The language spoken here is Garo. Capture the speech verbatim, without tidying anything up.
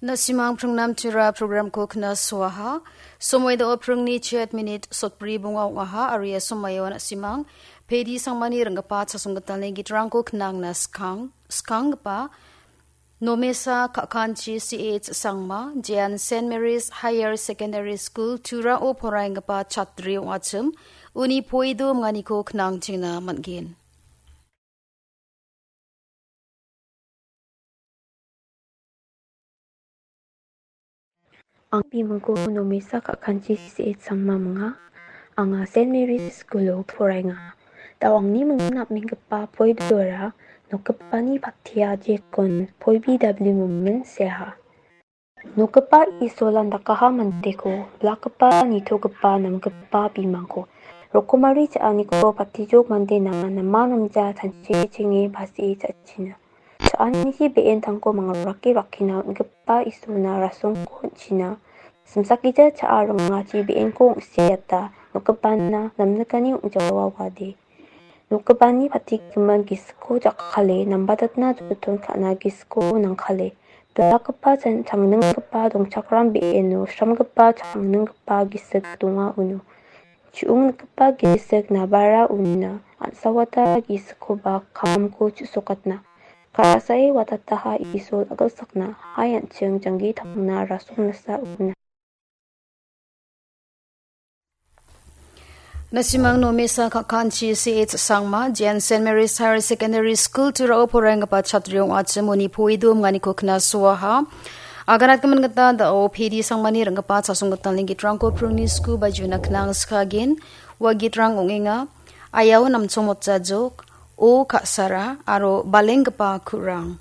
Na·simang pringnam tira programko knasoaha. Somoi do pringni chet minit sotbri bonga ong·aha, aro ia somoio na·simang Pedi Sangmani ringgipa chasong gitalni gitrangko knangna skang, skanggipa Nomesa Kakanchi C H Sangma, Jean Saint Mary's Higher Secondary School, Turao poraienggipa chatri ong·achim, uni poido minganiko knangchingna man·gen. Angni bimingko Nomesa Kakanchi C H Sangma minga. Anga Saint Mary's School-o poraenga. Da·o angni mingna am·enggipa poidoara nokgipani patia jekon poi B W momen seaha. Nokgipa Isolan dakaha mandeko, bilakgipa, nitogipa, namgipa bimangko, rokomari cha·aniko patijok mandena nama namja tanchechenge basie cha·china. Cha·aniji be·entangko mangarake rakkina on·gipa Isolna rasongko on·china. Simsakgija cha·a ringachi be·enko ong·siata nokgipana namnikani ong·jawa wade. Nokgipani patigimin gisiko jakkale, nambatatna joton ka·na gisiko nangkale. Bilakgipa chan-, changninggipa dongchakram be·eno sramgipa changninggipa gisik donga uno. Chu·ongnikgipa gisik nabara unina an·sawata gisikoba kamko chu·sokatna. Ka·rasae watataha Isol agilsakna, hai an·ching janggi tangna rasong nasa una. Na·simang Nomesa Kakanchi C H Sangma, Jean Saint Mary's Higher Secondary School Turao poraienggipa chatri ong·achim uni poido minganiko knasoaha. Aganatgimin gita da·o Pedi Sangmani ringgipa chasong gitalni gitrangko pringni sku bajuna knang skagen, ua gitrang ong·enga, Ayao Namchong Motjajok, O Ka·sara, aro Balenggipa Ku·rang.